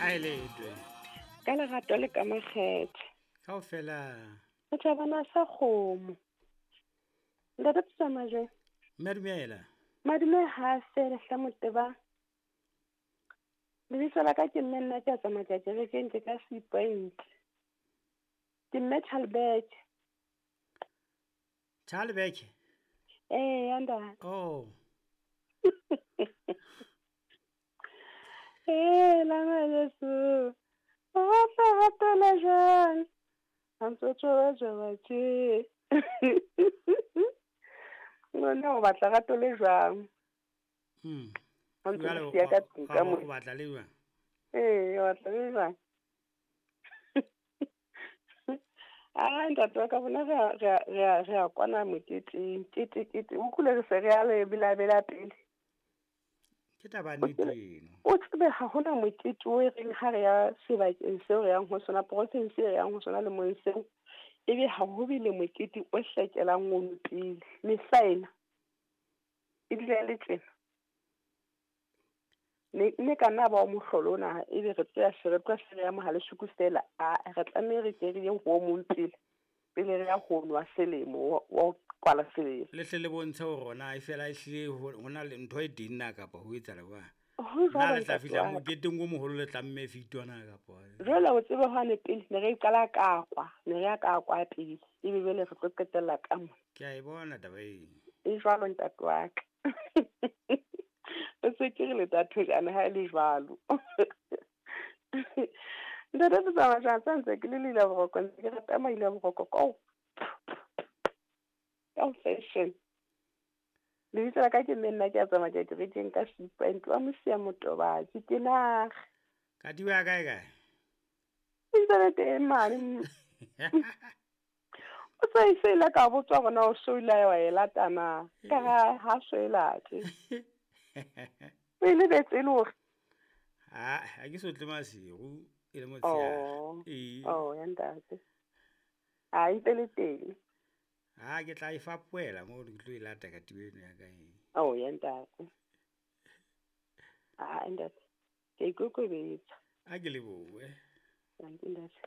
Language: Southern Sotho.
A e letwe. Ka lerato le ka makgethe. Kaofela. Re thabana sa kgomo. Ntate Tsamajwe. Mme dumela. Madume ha fele hla moteba. Lebitso la ka ke mme nna ke a tsamaya kerekeng ke ka C point. Ke mme Chalbeke. Chalbeke? Eh, ya ntate. Oh. Eh, la Jesu. O batla ratela jwang? Ha ntse o tjhoba tje. Ngwana o batla rato le jwang? Ha ntse o siya ka tlung ka mo. O batla le jwang? Eh, o batla le jwang? Ah, ntate wa ka bona re a kwana moketeng. Kete. O kule re se re a le bela pele. Ke taba nnete eno. O tsebe ha hona mokete o e reng ha re ya sebakeng seo re yang ho sona, province e re yang ho sona le mong seo, ebe ha ho bile mokete o hlekelang ono pele. Mehla ena e dula e le tjena. Ne ka nna ba o mohlolo ona, ebe re tlo ya se re tlo se re ya Mohalesuku fela, a re tlameha re ke re ye ho o mong pele, pele re ya ho nwa selemo wa kwala selemo. Le hle le bontshe hore rona e fela e hlile ho na le ntho e teng na kapa ho etsahala jwang? Ho Na jwalo le tla ntate fihla wa ka. moketeng o moholo le tlamme fitwana kapa? Jwale o tsebe hwane pele ne re qala ka kwa, ne re ya ka kwa pele, ebe jwale re tlo qetella ka mona. Ke a e bona taba eno. E jwalo ntate wa ka. O se ke re le thathojana ha e le jwalo. Ntate Tsamaya jwang, sa ntse ke le leila boroko, ntse ke rata maila boroko ka fashion. Lebitso la ka ke mme nna ke a tsamaya ke kerekeng ka C point wa Mosia Motobatsi, ke naga. Katiba ya kae kae? E ntse le teng mane. O sa e se ile ka botswa hore na o so ile wa e lata na, ka ha so e late. O e lebetse e le hore? Ha ke so tle masiu, e le motshehare. Oh. Ee. Oh, ya ntate. Ha e ntse le teng. Ha ke tla e fapohela moo ke tlo e lata katiba eno ya ka e. Oh, ya ntate. Ha ntate. Ke ikokobetsa. A ke lebohe. Dankie ntate.